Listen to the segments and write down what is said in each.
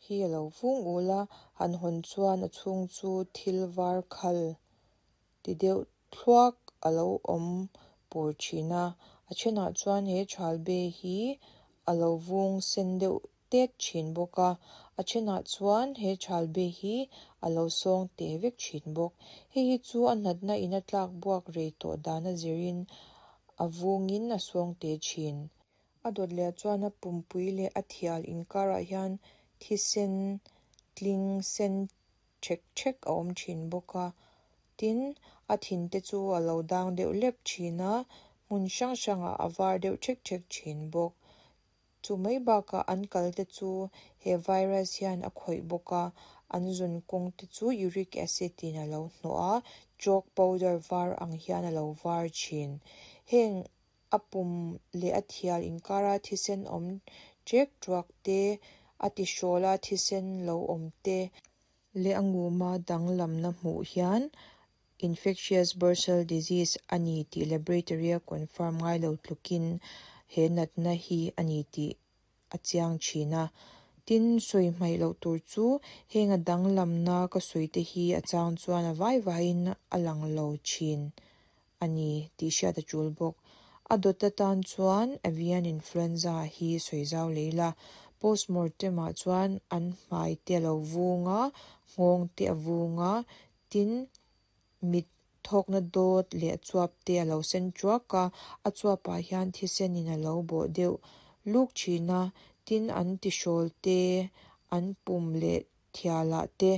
hi a lo vung ul a han hawn chuan a chhung chu thil var khal ti deuh thluak a lo awm pur thin a a thenah chuan he thal be hi a lo vung sen deuh tet thin bawk a a thenah chuan he thal be hi a lo sawng te vek thin bawk hei hi chu a natna in a tlak buak rei tawh dan a zirin a vungin a sawng te thin. A dawt leh ah chuan a pumpui leh a thial inkarah hian thisen tling sen ṭhek ṭhek a awm thin bawk a tin a thin te chu a lo dang deuh lep thin a hmun hrang hrangah a var deuh ṭhek ṭhek thin bawk chu mai bakah an kal te chu he virus hian a khawih bawk a an zun kawng te chu uric acid in a lo hnawh a chalk powder var ang hian a lo var thin heng a pum leh a thial inkara thisen awm ṭek ṭuak te a ti hrawl a thisen lo awm te leh a ngum a danglamna hmuh hian infectious bursal disease a ni tih laboratory a confirm ngailo tlukin he natna hi a ni tih a chiang thin a tin sawi hmaih loh tur chu heng a danglamna ka sawi te hi a chang chuan a vai vaiin a lang lo thin a ni tih hriat a tul bawk a dawt atan chuan avian influenza hi sawi zau leh ila postmortem ah chuan an hmai te a lo vung a nghawng te a vung a tin mit thawkna dawt leh a chuap te a lo sen tuak a a chuap ah hian thisen in a lo bawh deuh luk thin a tin an ti hrawl te an pum leh thial ah te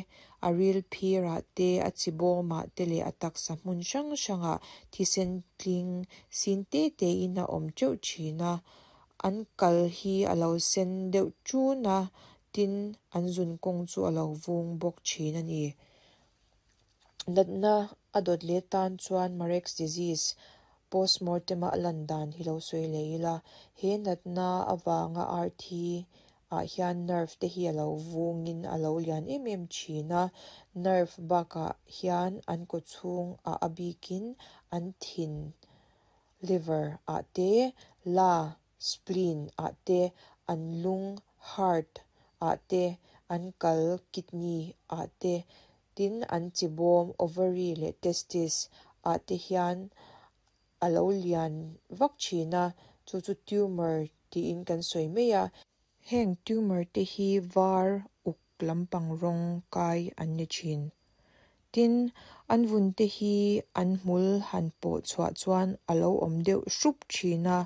a ril phir ah te a chi bawm ah te leh a taksa hmun hrang hrangah thisen tling sin te te in a awm teuh thin a an kal hi a lo sen deuh ṭun a tin an zun kawng chu a lo vung bawk thin a ni. Natna a dawt leh tan chuan Marek's disease postmortem a a lan dan hi lo sawi leh ila he natna avanga arthi ah hian nerve te hi a lo vungin a lo lian em em thin a nerve bakah hian an kaw chhung ah a bikin an thin liver ah te la spleen ah te an lung heart ah te an kal kidney ah te tin an chi bawm ovary leh testis ah te hian a lo lian vak thin a chu chu tumor tiin kan sawi mai a heng tumor te hi var uk lampang rawng kai an ni thin tin an vun te hi an hmul han pawh chhuah chuan a lo awm deuh hrup thin a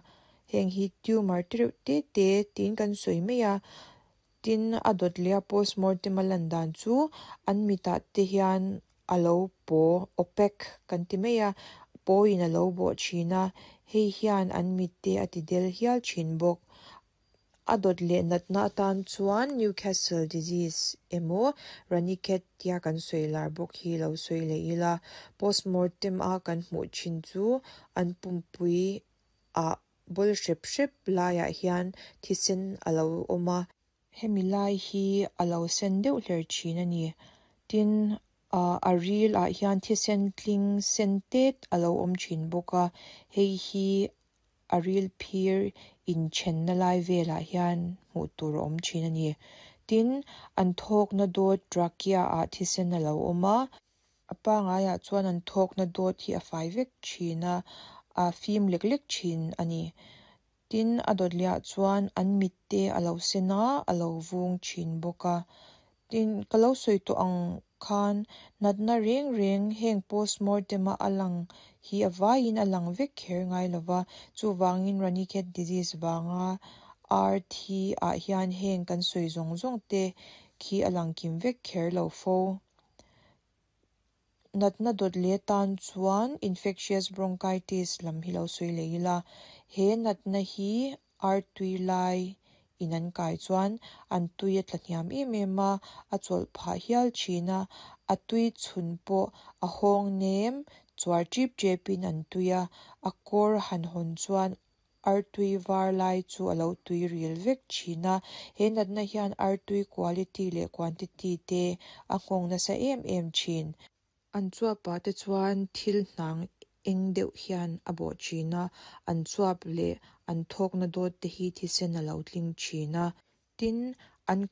heng hi tumor te reuh te te tiin kan sawi mai a tin a dawt leh a postmortem a lan dan chu an mitah te hian a lo paw opaque kan ti mai a pawiin a lo bawh thin a hei hian an mit te a ti del hial thin bawk a dawt leh natna atan chuan newcastle disease emaw ranikhet tia kan sawi lar bawk hi lo sawi leh ila postmortem a kan hmuh thin chu an pumpui ah bawlh hrep hrep laiah hian thisen a lo awm a hemi lai hi a lo sen deuh hler thin a ni tin ahh a ril ah hian thisen tling sen tet a lo awm thin bawk a hei hi a ril phir inthenna lai velah hian hmuh tur a awm thin a ni tin an thawkna dawt trachea ah thisen a lo awm a a pangaiah chuan an thawkna dawt hi a fai vek thin a a fim lek lek thin a ni tin a dawt leh ah chuan an mit te a lo sen a a lo vung thin bawk a tin ka lo sawi tawh ang khan natna reng reng heng postmortem a a lang hi a vaiin a lang vek kher ngai lova chuvangin ranikhet disease vanga ar thi ah hian heng kan sawi zawng zawng te khi a lang kim vek kher lo fo. Natna dawt leh tan chuan infectious bronchitis lam hi lo sawi leh ila he natna hi ar tui lai in an kai chuan an tui a tla hniam em em a a chawlh phah hial thin a a tui chhun pawh a hawng nem chuar tip tep in an tui a a kawr han hawn chuan artui var lai chu a lo tui ril vek thin a he natna hian artui quality leh quantity te a nghawng nasa em em thin. An chuapah te chuan thil hnang eng deuh hian a bawh thin a an chuap leh an thawkna dawt te hi thisen a lo tling thin a tin an.